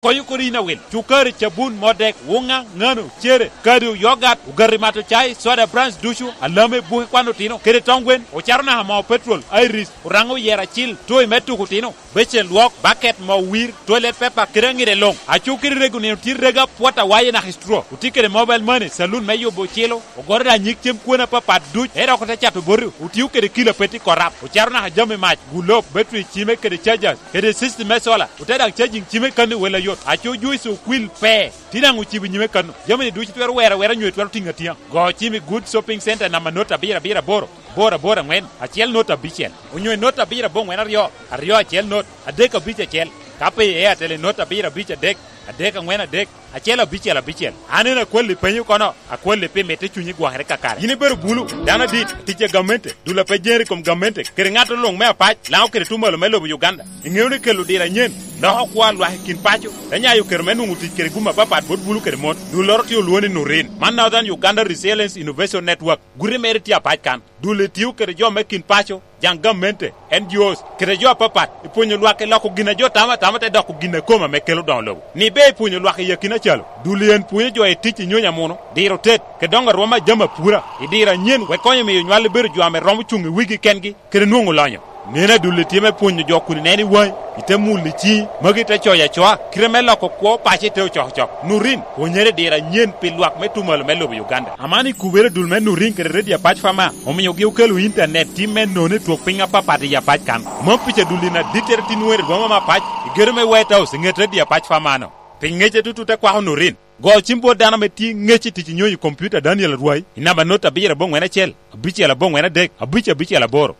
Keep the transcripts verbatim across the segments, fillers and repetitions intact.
Konyo kodi yin awil. Cukari, cabun, modek, wuŋa, ŋano, cere, kado, yogat, ogati mato cai, soda brands ducu, alame, buke kwan otino, kede tong gwen, ocaro naka moo petrol, iris, oraŋo yer acil, toy me tuko otino, becen lwok, baket, moo wir, toilet paper, kede aŋide luŋ. Acu kede rego nino tye rega pwot awaye naka i straw. Otye kede mobile money, saloon me yubo ocilo, ogoro da nyig cem kwena apapat duc, ero oko te cato boti, otio kede kilo apeti korap, ocaro naka jami mac, gulob, battery cime kede chargers, kede system me solar, ote daŋ charging cime kano i wel ayot. Aco juice okwil pe, tye daŋ ocibo nyime kano. Jami-ni ducu twero wero awera nyo twero tiŋo atiŋa. Go cim i Good Shopping Center namba not abiro abiro aboro, aboro aboro aŋwen, acel not abicel, onyo i not abiro aboŋwen aryo, aryo acel not, adek abic acel, ka pe i Airtel i not abiro abic adek, adek aŋwen adek, acel abicel abicel. An en akwalli penyo kono, akwalli pi mitte cunyi gwokere kakare. Yin ibedo bulu, dano adit, tic a gamente, dul a pe jeri i kom gamente, kede ŋat luŋ me apac, Laŋo kede tuŋ malo me lobo Uganda. Iŋeo ni kelo diro anyen loko kwo a lwak i kin paco, te nyayo kero me nwoŋo tic kede gum apapat bot bulu kede mon. Dulloro tye olwoŋo ni Nurin. Man Northern Uganda Resilience Innovation Network. Guti mere tye apac kan. Dul-li tio kede jo me kin paco, jaŋ gamente, N G Os, kede jo apapat, i pwonyo lwak i loko gin a jo tamo atama te doko gin a kome ame kelo doŋo lobo. Ni be i pwonyo lwak i akina calo, dul-li en pwonyo jo i tic i nyonyo amuno, diro tet, kede doŋo arwoma a jami apura, i diro anyen, wek konyo miyo nywal bedo jo ame romo cuŋ i wigi kengi, kede nwoŋo lonyo. Neno adulli tye me pwonyo jo kun ineno i waŋi, ite mulo i ciŋi, magi ite coyo acoa, kite me loko kwo paco ite ocokocok. Nurin, pwonyere diro anyen pi lwak me tuŋ malo me lobo Uganda. Aman i kubere dul me Nurin kede Radio Apac Fama, omiogi okelo intanet tim me nono i twok piny apapat i Apac kan. Mom pica dul in adittere tin weri boma me Apac, i gedo me White House, i ŋet Radio Apac Fama-no. Pi ŋece tutut akwako Nurin. Go cim bot dano ame tye ŋec i tic i nyonyo i kompiuta, Daniel Arwai, i namba not abiro aboŋwen acel, abicel aboŋwen adek, abic abicel aboro.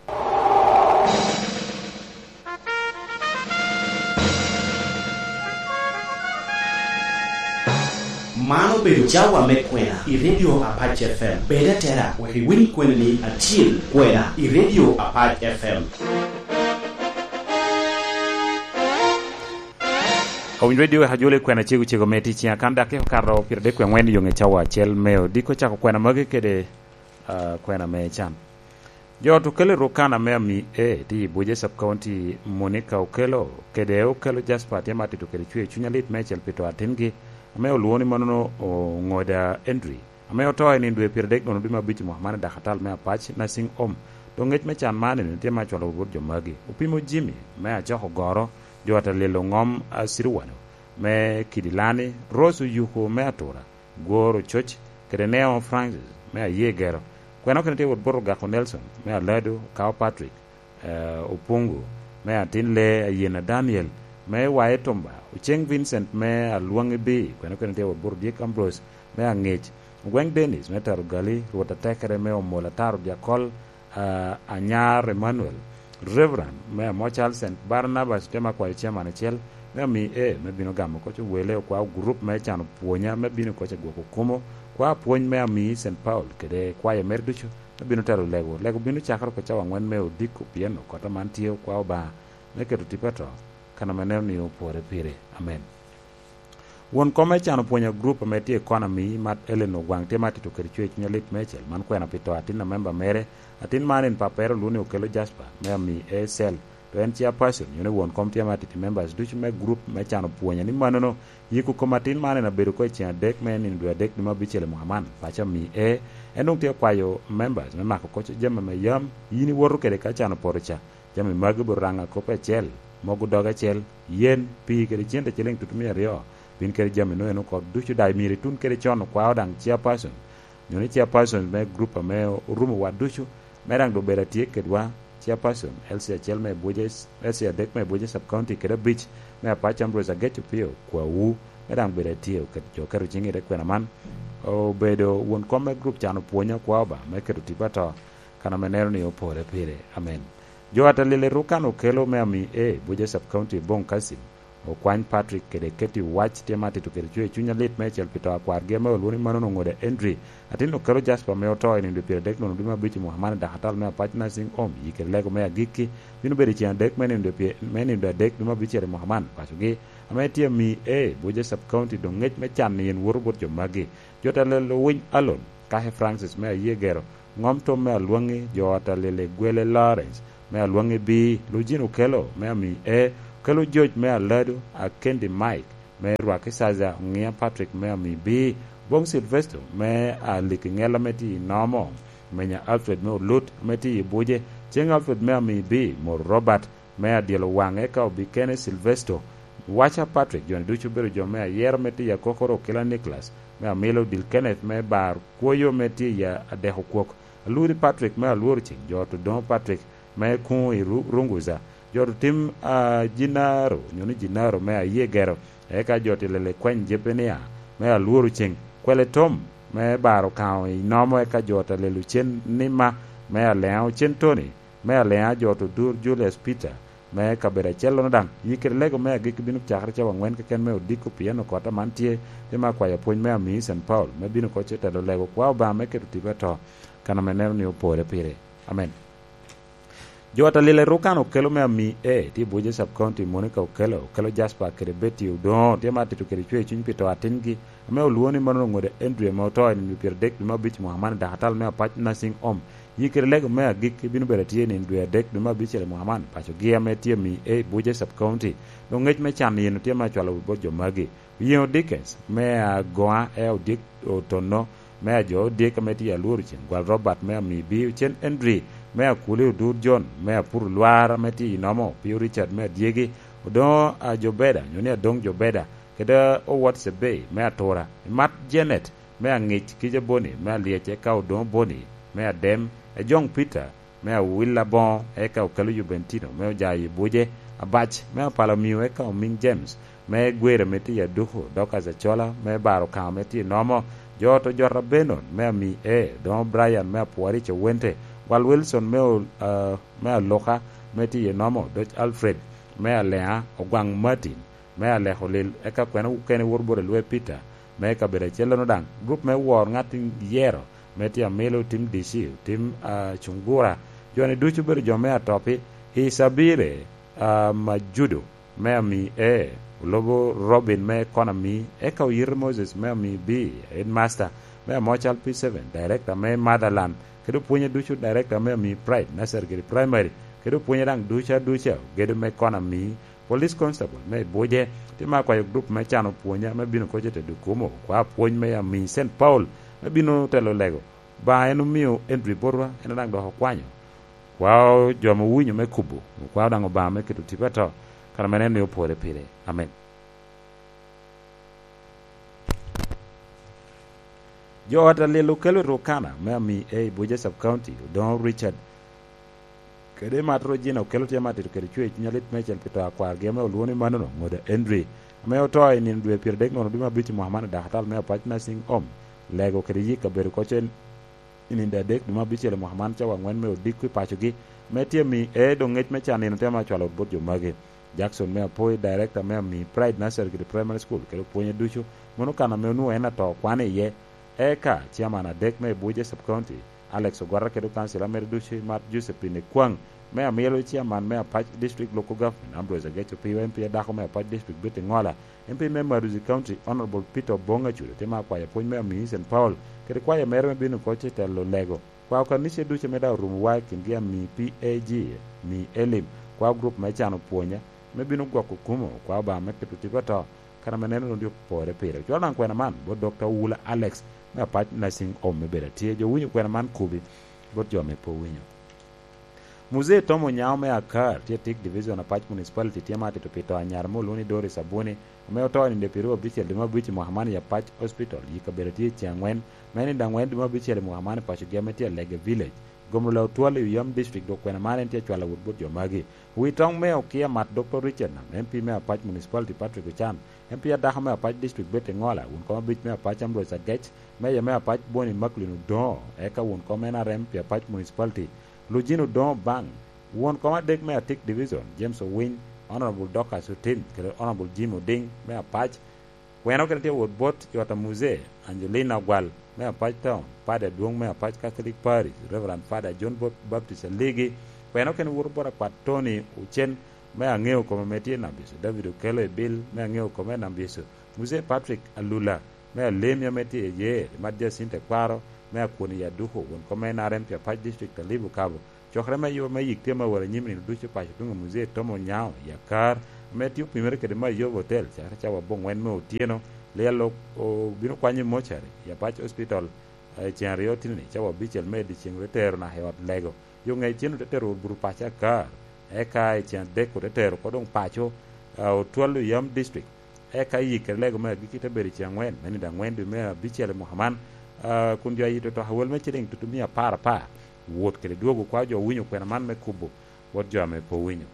Man obedo cawa me kwena i Radio Apac F M. Bed atera wek iwiny kweni acil kwena i Radio Apac F M. Owiny Radio wek ajolo i kwena cego cego me tic ciŋa kan dakika okato pyeradek wie aŋwen i yo ŋe cawa acel me odiko cako kwena magi kede, ah, kwena me can. Jo ot Okello Rukana me Ami A tye i Abuja Sub County, Monica Okello kede Okello Jasper tye ma tito kede cwer cuny alit meicel pi to atingi ame olwoŋo ni manono Oŋoda Henry, ame oto i nino dwe pyeradek nono dwe me abic i mwaka man i dakatal me Apac Nursing Home. Doŋ ŋec me can man eni tye ma cwalo bot jo magi. Opimo Jimmy me Acoko Goro, jo ot Alelo Ŋom Acirwano me Kidilani, Rose Oyuko me Atura, Gworo Coc, kede Neo Francis me Ayegero. Kwena okene tye wot bot Ogako Nelson me Alado, Kao Patrick, eh, Opungu me Atin Lee, Ayena Daniel me Waye Tumba, Oceng Vincent me Alwaŋi B, kwena okene tye wot bot Odyek Ambrose me Aŋec, Ogweng Dennis me Taro Gali, Rwot Atekere me Omol Ataro Dyakol, ah, Anyar Emmanuel, Reverend me Amocal Saint Barnabas, te ma kwayo chairman acel me Ami A me bino gamo koc owele, okwao gurup me cano pwonya me bino koc agwoko kumo, kwao pwony me Ami Saint Paul kede kwayo mere ducu me bino telo lego. Lego bino cakere oko cawa aŋwen me odiko, pien okota man tye okwao Obaŋa me keto tipo ato, kan ame neno ni opore pire. Amen. Won kom me cano pwony a gurup ame tye i kona Ami, Mat Ellen Ogwaŋ, tye ma tito kede cwer cuny alit meicel. Man kwena pi to atin a memba mere. Atin man en pappere olwoŋo ni Okello Jasper me Ami A Cell, to en chairperson, nyo ni won kom tye ma tito i members ducu me gurup me cano pwonya ni manono. Yiko kom atin man en abedo oko i ceŋ adek me nino dwe adek dwe me abicel i mwaka man. Paco Ami A en doŋ tye kwayo members me mako koc jami ame yam yin iwoto kede ka cano poto ca. Jami magi obedo raŋ akopo acel, mogo doge acel, yen, pii kede cente ciliŋ tutumia aryo. Bin kede jami nongo en oko ducu daŋ myero itun kede con, okwao daŋ chairperson, nyo ni chairperson me gurup ame orumo wa ducu, me daŋ doŋ bedo atye kedwa, chairperson, L C acel me Abuja, L C adek me Abuja Sub County kede abic me Apac Ambrose Agec Opio, kwawu, me daŋ bedo atye oket jo keto ciŋ i te kwena man, obedo won kom me gurup cano pwonya, okwao Obaŋa me keto tipo ato, kan ame neno ni opore pire. Amen. Jo atalil i Rukan Okello me Ami A, Abuja Sub County, Boŋ Kasim, Okwany Patrick kede Katie Owac tye ma tito kede cwer cuny alit meicel pi to a kwargi ame olwoŋo ni manono Oŋoda Henry, atin Okello Jasper ame oto i nino dwe pyeradek nono dwe me abic i mwaka man i dakatal me Apac Nursing Home. Yikere lego me agikki bino bedo i ceŋ adek me nino dwe pye-, me nino dwe adek dwe me abicel i mwaka man. Pacogi ame tye Ami A, Abuja Sub County, doŋ ŋec me can ni en woto bot jo magi. Jo atalil Owiny Alon, Kake Francis me Ayegero, Ŋom Tom me Alwaŋi, jo ot a Lele Gwele Lawrence me Alwaŋi B, Lujin Okello me Ami A, Okello George me Alado, Akendi Mike, me Rwaki Saza, Oŋia Patrick me Ami B, Bong Silvesto me Aliki Ŋel ame tye i Nomo, Menya Alfred me Olut ame tye i Buje, Ceng Alfred me Ami B, Mor Robert me Adyelo Waŋ, eka Obikene Silvesto, Waca Patrick, jo-ni ducu obedo jo me ayero me tiyo akokoro, Okila Nicholas me Amilo, Dil Kenneth me Bar Kwoyo me tye i Adeko Kwok, Aluri Patrick me Alworo Ceng, jo ot Odoŋo Patrick me kuŋ i Ru-, Runguza, jo ot otim, ah, Jinaro, nyo ni Jinaro me Aye Gero, eka jo ot Lele Kweny Jepenia me Alworo Ceng, Kwele Tom me Bar Okaŋo i Nomo, eka jo ot Lele Ocen Nima me Aleŋa, Ocen Tony me Aleŋa, jo ot Odur Julius Peter me kabedo acellono daŋ. Yi kede lego me agikki bino cakere cawa aŋwen keken me odiko, pien okot aman tye, te me akwayo pwony me Ami Saint Paul, me bino oko ce telo lego kwa Obaŋa me keto tipo ato, kan ame neno ni opore pire. Amen. Jo ot Lele Rukan Okelo me Ami A, tye i Buje Sub County, Monica Okelo, Okelo Jasper kede Betty Odoŋo, tye ma atito kede cwer cuny pi to atingi, ame olwoŋo ni mano Oŋoda Andrew, ame oto i nino dwe pyeradek dwe me abic i mwaka man i dakatal me Apac Nursing Home. Yi kede lego me agikki bino bedo atye i nino dwe adek dwe me abicel i mwaka man, pacogi ame tye Ami A, Buje Sub County. Doŋ ŋec me can yeno tye ma acwalo wi bot jo magi. Oyeŋo Dickens me Agoŋa, e Odyek Otonno me Ajo Odyek ame tye i Alworo Ceng, Gwal Robert me Ami B, Ocen Andrew me Akuli, Odur John me Apur Lwar ame tye i Nomo, Pio Richard me Adyegi, Odoŋo Ajobeda, nyo ni Adoŋ Jobeda, kede Owot Sebei me Atura, Imat Janet me Aŋic, Kija Boni me Alyec, eka Odoŋo Boni me Adem, Ejoŋ Peter me Awil Aboŋo, eka Okelo Jubentino me Ojayo i Buje, Abac me Apalo Miu, eka Omiŋ James me Gwere ame tye i Aduku, Dorcas Acola me Bar Okaŋo ame tye i Nomo, jo ot Ojota Benon me Ami A, Odoŋo Brian me Apworic Owente, Gwal Wilson me O-, ah, me Aluka ame tye i Nomo, Doc Alfred me Aleŋa, Ogwaŋ Martin me Aleko Lil, eka kwena okene wot bot Elwe Peter me kabedo acellono daŋ. Grup me wor ŋat i yero me tye Amilo, tim D C, tim, ah, Cungura, jo-ni ducu obedo jo me Atopi, Isabire, ah, Majudo me Ami A, Olobo Robin me Konami, eka Oyito Moses me Ami B, Headmaster me Amocal P seven, Director me Motherland, kede opwonye ducu, Director me Ami Pride Nursery kede Primary, kede opwonye daŋ ducu aduca, ogedo me Konami, Police Constable me Ibuje, tye ma akwayo grup me can opwonya me bino koc i Tedukumo, kwa pwony me Ami Saint Paul me bino telo lego. Ba en omio Andrew botwa, en daŋ dok okwanyo. Kwa jo ame owinyo me kubo, kwa daŋ Obaŋa me keto tipo ato, kara mere en ni opore pire. Amen. Jo ot Alil Okelo i Rukana me Ami A, Ibuje Sub County, Odoŋo Richard kede Mat Rojina Okelo tye ma atito kede cwer cuny alit meicel pi to a kwargi ame olwoŋo ni manono, Ŋoda Andrew, ame oto i nino dwe pyeradek nono dwe me abic i mwaka man i dakatal me Apac Nursing Home, Lego kede yik kabedo koc en i nino adek dwe me abicel i mwaka man, cawa aŋwen me odiko i pacogi, me tye Ami A, doŋ ŋec me can nino tye ma acwalo wot bot jo magi. Jackson me Apoi, Director me Ami Pride Nursery kede Primary School, kede opwonye ducu, mano kan ame onwoŋo en ato kwano iye. Eka, Chairman adek me Ibuje Sub County, Alex Ogwata kede okancila mere ducu, Mat Josephine Ekwaŋ, me Amilo, Chairman me Apac District Local Government, Ambrose Agec Opiyo, M P adako me Apac District, Betty Ŋola, M P me Maduzi County, Honorable Peter Obong Acudo, tye ma akwayo pwony me Ami Saint Paul, kede kwaya mere me bino koc i telo lego. Kwa okanice ducu ame daŋ orumowa i kingi Ami P A G, Ami Elim, kwa grup me can opwonya, me bino gwoko kumo, kwa Obaŋa me keto tipo ato, kan ame neno runi opore pire. Ocwalo daŋ kwena man bot Doctor Owula Alex, me Apac Nursing Home me bedo atye. Jo winyo kwena man kubi, bot jo ame pe owinyo. Muzee Tom Onyango me Akar, tye Tik Division, Apac Municipality, tye ma atito pi to anyara me olwoŋo ni Doris Abuni, ame oto i nino dwe pyeraryo abicel dwe me abic i mwaka man i Apac Hospital, i kabedo tye i ceng aŋwen, me nino aŋwen dwe me abicel i mwaka man i pacogi ame tye Alege Village. Gomro Law Twal i Oyam District, dok kwena man en tye acwalo wot bot jo magi. Wi toŋ me okia mat Doctor Richard Nam, M P me Apac Municipality Patrick Ochan, M P adako me Apac District Betty Ŋola, won kom abic me Apac Ambrose Agec, Meya me Apac Boni Macklin Odoŋo, eka won kom N R M pi Apac Municipality, Lujin Odoŋo Bang, won kom adek me Atik Division, James Owiny, Honorable Dorcas Otim, kede Honorable Jim Oding me Apac. Kwena okene tye wot bot i ot a Muzee, Angelina Ogwal me Apac Town, Padi adwoŋ me Apac Catholic Parish, Reverend Father John Bap-, Baptist Aligi. Kwena okene woto bot akwat Tony Ocen me Aŋeo Kome ame tye i Nambiso, David Okello Ebil me Aŋeo Kome i Nambiso, Muzee Patrick Alula me Alemya ame tye i Yer, Mat Jacinta Ekwaro me Akwon i Aduko, won kom N R M pi Apac District, Alibu Kabo. Cokere me yuba me yik tye ma wot anyim nino ducu paco tuŋ i Muzee Tom Onyango i Akar, ame tye opimere kede Mayobo Hotel, cakere cawa abongwen me otyeno. Lyel o-, obino kwanyo i mochari i Apac Hospital, eh, ceŋ aryo tini, cawa abicel me dyeceŋ, ote tero naka i ot lego. Yo ŋec cen ote tero wot buto paco akar, eka i ceŋ adek ote tero oko doŋ paco, ah, otwal Oyam District. Eka yik kede lego me agikki te bedo i ceŋ angwen, me nino angwen dwe me abicel i mwaka man, ah, kun jo ayito to awel me ciliŋ tutu mia apar apar. Wot kede dwogo kwa jo owinyo kwena man me kubo bot jo ame pe owinyo.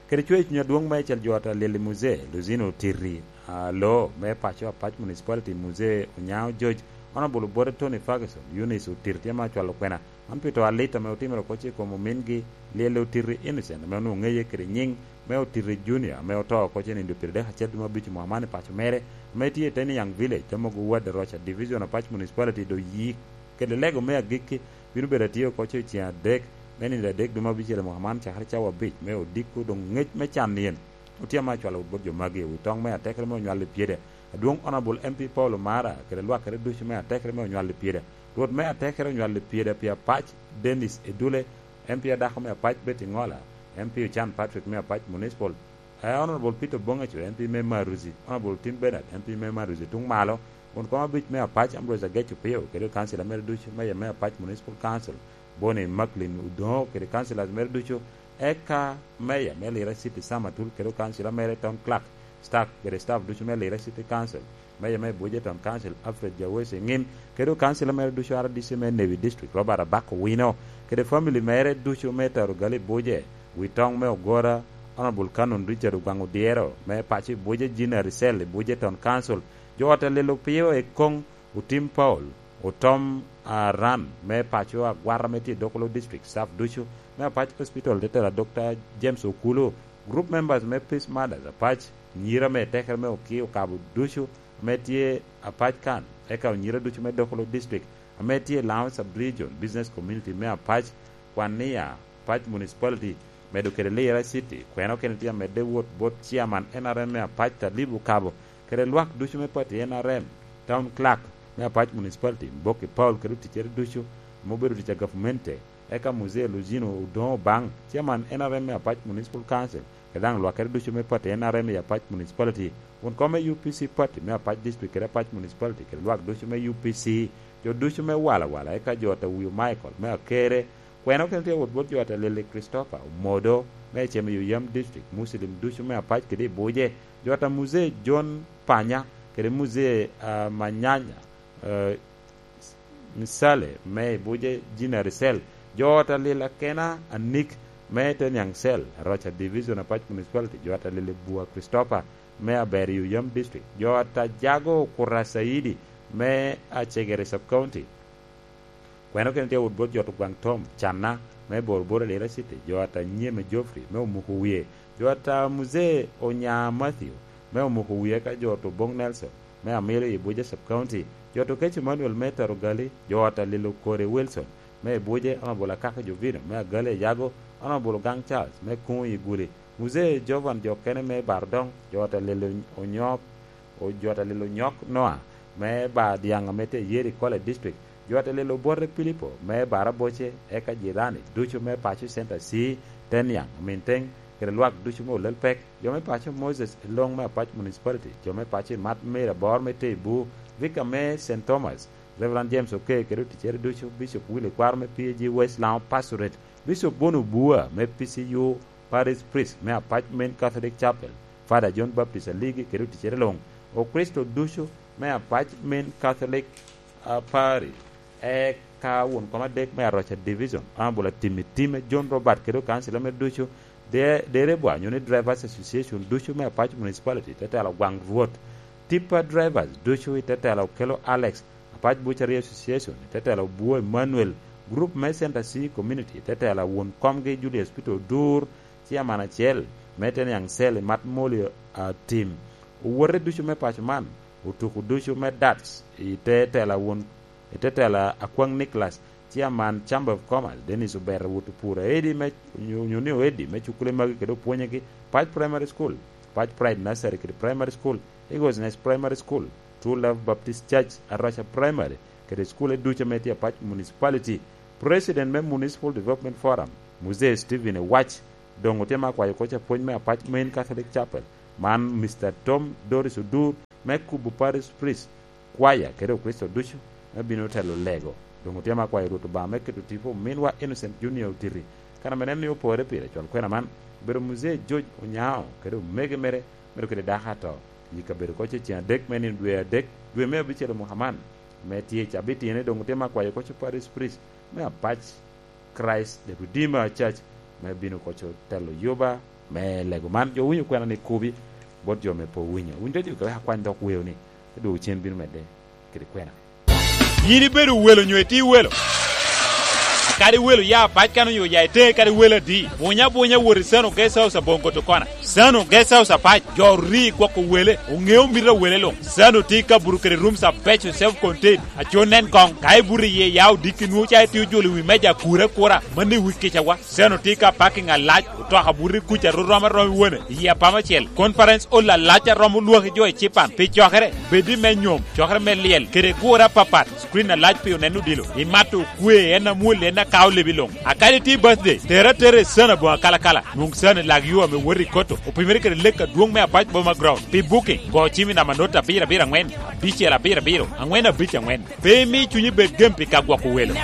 Kede cweyo cuny adwoŋ meicel jo ata lili Muzee Luzino Otiri, ah, loo me paco Apac Municipality, Muzee Onyango George, Honorable Obote Tony Ferguson, Eunice Otiri tye ma acwalo kwena, man pi to alit ame otimere oko ce i kom omingi, Lyel Otiri Innocent, ame onwoŋo ŋeye kede nyiŋ me Otiri Junior, ame oto oko ce nindo pyeradek acel dwe me abic mwaka man i paco mere, ame tye i Teniang Village, Tamogo Ward, Roca Division, Apac Municipality, do yik kede lego me agikki bino bedo atye oko ce i ceŋ adek me nino adek dwe me abicel i mwaka man, cakere cawa abic me odiko, doŋ ŋec me can yen otye ame acwalo wot bot jo magi. Wi toŋ me atekere me onywal i pyede, adwoŋ Honorable M P Paul Omara kede lwakere ducu me atekere me onywal i pyede, Rwot me atekere onywal i pyede pi Apac Dennis Edule, M P adako me Apac Betty Ngola, M P Ochan Patrick me Apac Municipal, eh, Honorable Peter Bongacho, M P me Maruzi, Honorable Tim Bernard, M P me Maruzi tuŋ malo, won kom abic me Apac Ambrose Ageco Pio, kede kansila mere ducu, meya me Apac Municipal Council, Bonnie Macklin Odongo, kede councillors mere ducu, eka meya me Lira City Sam Atul, kede kansila mere Tom Clark, staff, kede staff ducu me Lira City Council, meya me Buje Town Council Alfred Jawesi Ŋin, kede kansila mere ducu R D C me Newi District Robert Abak Owino, kede family mere ducu me Tarugali Buje, wi toŋ me Ogora, Honorable Canon Richard Ogwaŋ Odyero, me paco i Buje, Gina Ricel i Buje Town Council, jo ot alelo pio i koŋ, Otim Paul, Otom, ah, Ran, me paco Agwata me tye i Dokolo District, staff ducu, me Apac Hospital, te tela Doctor James Okulu, group members me Peace Mothers Apac, nyira me tekere me Oki Okabo ducu, ame tye Apac kan, eka onyira ducu me Dokolo District, ame tye i Laŋo Sub-Region, business community me Apac, Kwania, Apac Municipality, medo kede Lira City, kwena okene tye amedde wot bot chairman N R M me Apac Talib Okabo, kede lwak ducu me pati N R M, Town Clerk me Apac Municipality, Mboki Paul kede oticere ducu, ame obedo tic a gavmente, eka Muzee Luzino Odongo Obaŋ, chairman N R M me Apac Municipal Council, kede daŋ lwakere ducu me pati N R M i Apac Municipality, won kom me U P C pati me Apac District kede Apac Municipality, kede lwak ducu me U P C, jo ducu me Wala Wala, eka jo Atawiyo Michael me Akere, kwena okene tye wot bot jo Atalili Christopher Omodo me Cem i Oyam District, Muslim ducu me Apac kede i Buje, jo ata Muzee John Panya, kede Muzee, ah, Manyanya, eh, Misale me i Buje, Gina Ricel, jo ot alil akena anik me Teniang Cell, Roca Division Apac Municipality, jo ot alil Bua Christopher me Aber i Oyam District, jo ot a Jago Kura Saidi me Acegere Sub County. Kwena okene tye wot bot jo ot Ogwaŋ Tom, Canna me Bor Bor Alira City, jo ot a Nyeme Geoffrey me Omuko Wie, jo ot a Muzee Onya Matthew me Omuko Wie, ka jo ot Obong Nelson me Amilo i Buje Sub County, jo ot Okech Emmanuel me Tarugali, jo ot a Lilo Kore Wilson me Buje, Honorable Akaka Jovino me Agali Ayago, Honorable Gang Charles me Kuŋo i Guli, Muzee Jovan jo okene me Bardoŋ, jo ot a Lilo Onyok, o-, jo ot a Lilo Onyok Noa me Bar Dyaŋ ame tye i Yeri College District, jo ot a Lilo Obote Pilipo me Bar Aboce, eka jirani ducu me paco Center C, Teniang, Minteng, kede lwak ducu me Olel Pek, jo me paco Moses Elong me Apac Municipality, jo me paco i Mat Mary Abor me Teibu, Vicar me Saint Thomas, Reverend James Okey kede oticere ducu, Bishop Willy Kwaro me P A G West Lango Pastorate, Bishop Bono Bua me P C U Parish Priest me Apac Main Catholic Chapel, Father John Baptist Aligi kede oticere luŋ, Okricito ducu me Apac Main Catholic, ah, Parish, eka won kom adek me Aroca Division, Honorable Atimi Time, John Robert kede okancila mere ducu, De-, Derebwa nyo ni Drivers Association ducu me Apac Municipality, te telo Gwaŋ Rwot, Tipper Drivers ducu i te telo Okello Alex, Apac Butchery Association i te telo Bwo Emmanuel, Group me Center C Community i te telo won komgi Julius Peter Odur, Chairman acel me Teniang Cell i Mat Moli, ah, Tim, owote ducu me paco man, otuko ducu me darts i te telo won, i te telo Akwaŋ Nicholas, Chairman Chamber of Commerce, Dennis Obeta Wot Opura, Eddie me, onyo, onyo ni Eddie me cukule magi kede opwonyegi, Pac Primary School, Pac Pride Nursery kede Primary School, Eagles Nest Primary School, True Love Baptist Church, Aroca Primary, kede cukule ducu ame tye Apac Municipality. President me Municipal Development Forum, Muzee Stephen Ewach, Doŋ otye me akwayo koc apwony me apac Main Catholic Chapel, man Mister Tom Doris Odur me Kubu Parish Priest, kwaya kede Okricito ducu me bino telo lego. Doŋ otye me akwayo Rwot Obaŋa me keto tipo ominwa Innocent Junior Otiti, kan ame en ni opore pire cwal kwena man, obedo Muzee George Onyao kede omege mere, medo kede dako ato, i kabedo koc i ceŋ adek me nino dwe adek, dwe me abicel omwaka man, me tye i cabitine. Doŋ otye me akwayo koc Parish Priest me apac Christ the Redeemer Church me bino koc otelo yuba me lego man. Jo owinyo kwena ni kubi bot jo me pe owinyo. Winy radio kawek akwany dok weo ni, te dwogo cen bino medde kede kwena. Yin ibedo welo nyo itye welo? Kadi welo ya apac kan onyo ya ite kadi welo adi? Bunya bunya wot i Sano Guest House aboŋo Gotokona. Sano Guest House apac, jo ori gwoko wele, oŋeo mito a wele luŋ. Sano tye ka buto kede rooms abeco self contained, aco nen koŋ. Ka ibuto iye ya odiki nwoŋo ca itye ojolo i wi meja akura akura, mano i wi kicawa. Sano tye ka parking alac, otoka buto i kuca rom arom i wone, i apama acel. Conference hall alac a romo lwaki jo i cipan. Pi cokere, bed i me nyom, cokere me lyel, kede gure apapat. Screen alac pi oneno odilo. Imato okwe, en amwol, en akao lebi luŋ. A kadi tye birthday, tere atera i Sano aboŋo akalakala. Nwoŋ Sano i lak yo ame wot i Koto, opimere kede lek adwoŋ me Apac Boma Ground. Pi booking, go cim i namba not abiro abiro aŋwen, abicel abiro abiro, aŋwen abic aŋwen. Pe imi cunyi bed gem pi ka gwoko welo.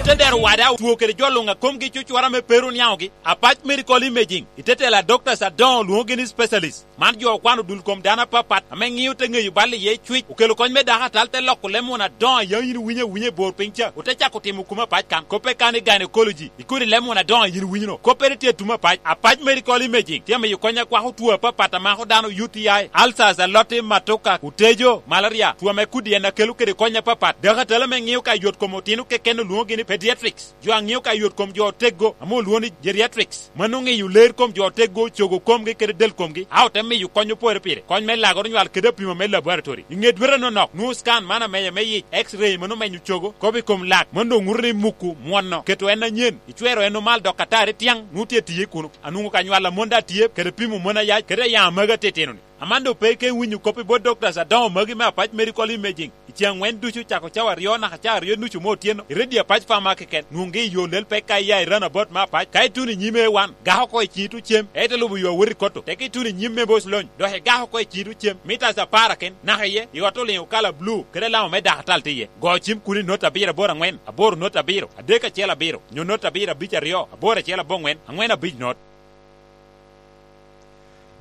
Ote dero wada otwo kede jo luŋ a komgi cucwara me pe ru niaŋogi. Apac Medical Imaging, i te telo a doctors adoŋo lwoŋogi ni specialist. Man jo okwano dul kom dano apapat ame ŋio te ŋeyo bal iye cwic, okelo kony me dako atal te loko leb won adoŋo a yaŋ yin iwinyo awinya i bor piny ca, ote cako timo kumo apac kan. Koppe kan i gynecology, i kodi leb won adoŋo a yin iwinyo-nu. Koppere tye i tumo apac. Apac Medical Imaging tye amiyo kony a kwako two apapat a mako dano, U T I, ulcers, aloti, matuka, otejo, malaria, two ame kodi en a kelo kede kony apapat. Dako atal ame ŋio ka yot kom otino keken olwoŋogi ni pediatrics. Jo a ŋeo ka yot kom jo oteggo, ame olwoŋo ni geriatrics, mano ŋeyo ler kom jo oteggo, cogo komgi kede del komgi, a ote miyo kony opore pire, kony me lagoro nywal kede apima me laboratory. I ŋe dwete anonok, nwoŋo scan man ameya me yic, X-ray mano menyo cogo, kop i kom lak, mano doŋ ŋuto ni muku mwono, keto en anyen, icwero en omal dok atari tyaŋ, nwoŋo tye tiye kuno. Anwoŋo ka nywal a mon daŋ tye, kede pimo mon ayac, kede ayaŋ amagi atitino-ni. Aman doŋ pe ike winyo kop i bot doctors adoŋo magi me Apac Medical Imaging. I ceŋ aŋwen ducu, cako cawa aryo naka cawa aryo nucu me otyeno, i redio Apac Pharmacy keken, nwoŋgi i yo lel pek ka ia i Roundabout me Apac. Ka ituno i nyim A one, gak oko i ciŋi tuŋ cem, ite lubo yo awot i Koto. Teke ituno i nyim me Boc Lony, dok igak oko i ciŋi tuŋ cem, mitas apar aken, naka iye, i ot oliŋ okala blu, kede alama me dako atal tye iye. Go cim kuno i not abiro aboro aŋwen, aboro not abiro, adek acel abiro, nyo not abiro abic aryo, aboro acel aboŋwen, aŋwen abic not.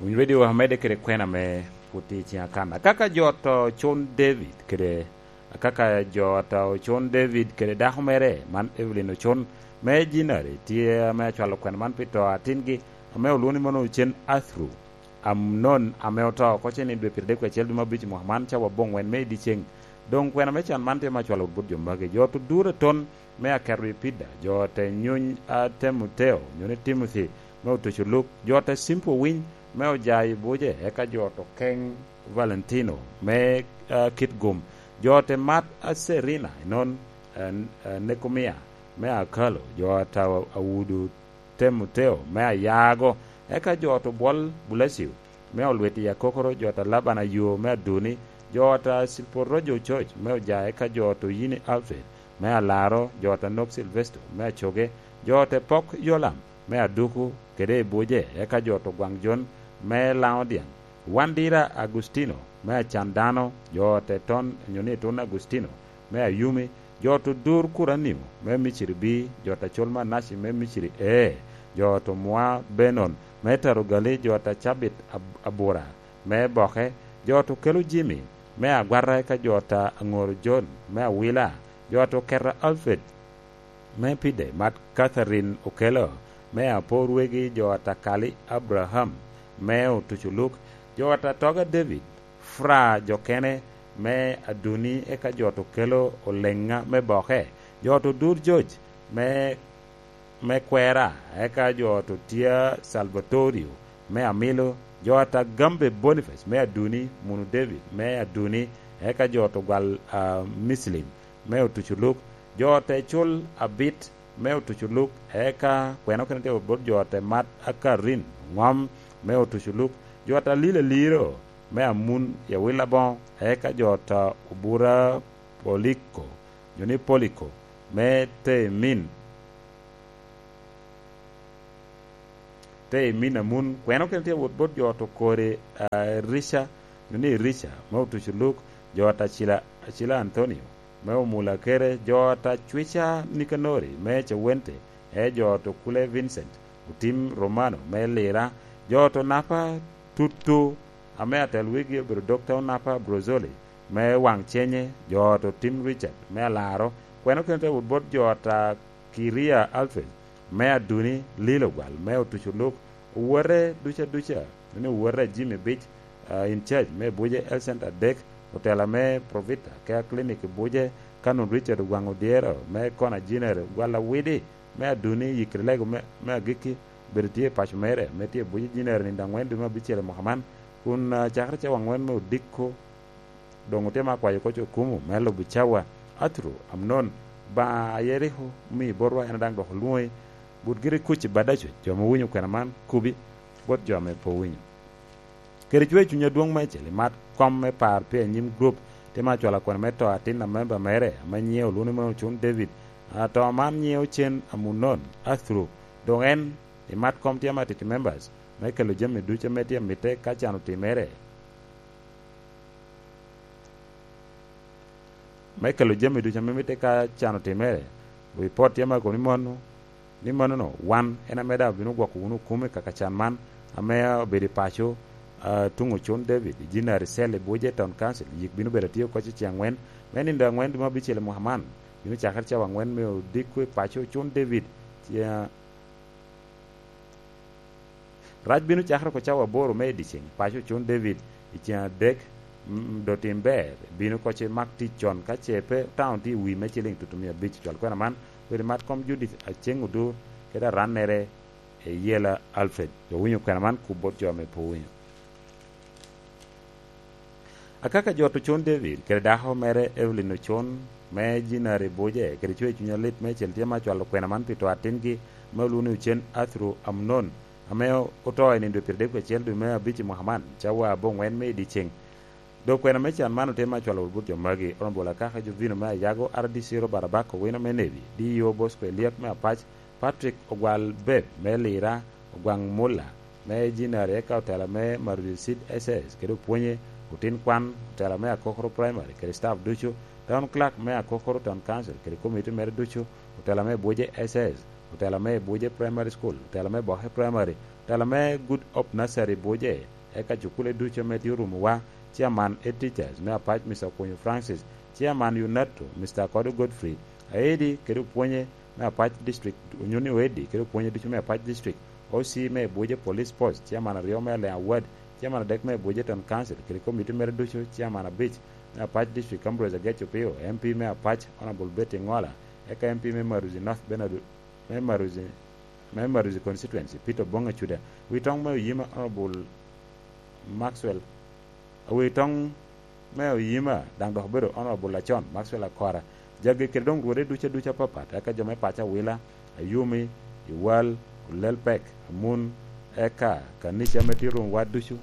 Winy radio wek amedde kede kwena ame pwod tye i ciŋa kan. Akaka jo oto Ocon David kede, akaka jo oto Ocon David kede dako mere, man Evelyn Ocon, me Jinari, tye ame acwalo kwena man pi to a atingi, ame olwoŋo ni mano Ocen Athru Amnon, ame oto oko cen i dwe pyeradek wie acel dwe me abic i mwaka man, cawa aboŋwen me i dyeceŋ. Doŋ kwena me can man tye me acwalo wot bot jo magi. Jo oto Dura Ton, me aketo i Pida, jo ote Nyuny a Temoteo, nyo ni Timothy, me otuco luk, jo ote Cimpo Winy, me oja i Buce, eka jo oto Keny Valentino, me, ah, Kitgum, jo ote Mat a Serina, enon, ah, ah, Nekomia, me Akalo, jo ote Awudu Temoteo, me Ayago, eka jo oto Bwol Bulacio, me Olwit i Akokoro, jo ote Laban Ayo, me Aduni, jo ote Cilporojo Coc, me Oja, eka jo oto Yini Alfred, me Alaro, jo ote Nok Silvesto, me Acoge, jo ote Pok Yolam, me Aduku, kede i Buce, eka jo oto Gwaŋ Jon, me Laŋo Dyaŋ, Wandira Agustino, me Acan Dano, jo ote Ton, nyo ni Tun Agustino, me Ayumi, jo oto Dur Kuranio, me Miciri Bi, jo ote Col Manaci, me Miciri Ee, jo oto Mwa Benon, me Tarugali, jo ote Cabit Ab-, Abura, me Boke, jo oto Kelo Jimi, me Agwata, eka jo ote Aŋoro Jon, me Awila, jo oto Keta Alfred, me Pide, mat Katharine Okello, me Apo Rwegi, jo Atakali Abraham, me Otuco Luk, jo Atatoga David, Fra jo kene, me Aduni, eka jo oto Okello Oleŋa, me Boke, jo oto Dur George, me, me Kwera, eka jo oto Tia Salvatorio, me Amilo, jo Atagambe Boniface, me Aduni, Munu David, me Aduni, eka jo oto Gwal, ah, Mislim, me Otuco Luk, jo ote Col Abit, me Otuco Luk, eka kwena okene tye bot jo ote Mat Akarin Ŋom, me Otuco Luk, jo ote Alil Aliro, me Amun i Awil Aboŋo, eka jo ote Obura Poliko, nyo ni Poliko, me Temin, Te i min amun, kweno kene tye wot bot jo oto kore, ah, Rica, ni Rica, me otuco luk, jo ata Cila, Acila Anthonio, me omula kere, jo ata Cwica Nikanori, me Cewente, e jo oto Kule Vincent, otim Romano, me Lira, jo oto Napa Tutu, ame atel wigi obedo Dokta Onapa Brozoli, me Waŋ Cenye, jo oto Tim Richard, me Alaro, kweno kene te wot bot jo ata Kiria Alfred, me Aduni, Lilo Gwal, me Otuco Luk, owote duca duca, ni owote Jimmy Bic, ah, in charge me Buje Health Center adek, otela me Provita Care Clinic i Buje, Canon Richard Ogwaŋ Odyero, me Kona Jiner Gwal Awidi, me Aduni, Yikri Lego me, me Agikki, obedo tye i paco mere, me tye i Buje Jiner nindo aŋwen dwe me abicel i mwaka man, kun, ah, cakere cawa aŋwen me odiko, doŋ otye me akwayo koc okumu me lubo cawa. Athuru, Amnon, Obaŋa a Yeriko omio botwa, en daŋ dok olwoŋi, but giri kuc i Badaco, jo ame owinyo kwena man, kubi bot jo ame pe owinyo. Kede cwer cuny adwoŋ meicel, imat kom me par pi anyim grup, tye me acwalo kwena me to atin a memba mere, ame nyiŋe olwoŋo ni Ocun David. Ato man nyiŋe ocen Amunon, Athuru, doŋ en, imat kom tye me atiti members, me kelo jami ducu ame tye mitte ka can otimere. Me kelo jami ducu ame mitte ka can otimere, ripot tye me akobo ni mano, ni manono, wan en ame daŋ obino gwoko wunu okumi kaka can man, ame obedo i paco, ah, tuŋ Ocun David, i Jinari Cell i Buje Town Council, yik bino bedo atye oko i ceŋ aŋwen, me nindo aŋwen dwe me abicel i mwaka man, bino cakere cawa aŋwen me odiko i paco Ocun David, ce-, Rac bino cakere oko cawa aboro me i dyeceŋ, paco Ocun David, i ceŋ adek, mm, dotim ber, bino oko ce mak tic con, ka ce pe taun tye i wi me ciliŋ tutumia abic, cwal kwena man, weri mat kom Judith Aceŋ Odur, kede arannere, Eyela Alfred. Jo winyo kwena man, kub bot jo ame pe owinyo. Akaka jo Ocun David, kede dako mere Evelyn Ocun, me Jinari Buje, kede cwer cuny alit meicel tye me acwalo kwena man pi to atingi, me olwoŋo ni Ocen Athuru Amnon, ame oto i nino dwe pyeradek wie acel dwe me abic i mwaka man, cawa aboŋwen me i dyeceŋ. Dok kwena me can man otye me acwalo wot bot jo magi, Honorable Akaka Jovino me Ayago, R D C Robert Abak Owino me Nebi, D E O Bosco Eliak me Apac, Patrick Ogwal Beb me Lira, Ogwaŋ Mulla me Jinari, eka otela me Maruzi Seed S S kede opwonye, otin kwan, otela me Akokoro Primary kede staff ducu, town clerk me Akokoro Town Council kede komiti mere ducu, otela me Buje S S, otela me Buje Primary School, otela me Boke Primary, otela me Good Hope Nursery Buje, eka cukule ducu ame tye orumowa, chairman head teachers me Apac, Mister Okonyo Francis, chairman UNATO, Mister Akodo Godfrey, aedi kede opwonye me Apac District, Onyoni Oedi kede opwonye ducu me Apac District, O C me Buje Police Post, chairman aryo me Alea Ward, chairman adek me Buje Town Council, kede komiti mere ducu, chairman abic me Apac District, Ambrose Agec Opio, M P me Apac, Honorable Betty Ngola, eka M P me Maruzi North Bernard, me Maruzi, me Maruzi Constituency, Peter Obong Acuda, wi toŋ me Oyima, Honorable Maxwell, wi toŋ me Oyima, daŋ dok obedo Honorable Acon, Maxwell Akora, jagi kede doŋ rwode ducu aducu apapat, eka jo me paco Awila, Ayumi, Iwal, Olelpek, Amun, eka kanica ame tye rumwa ducu,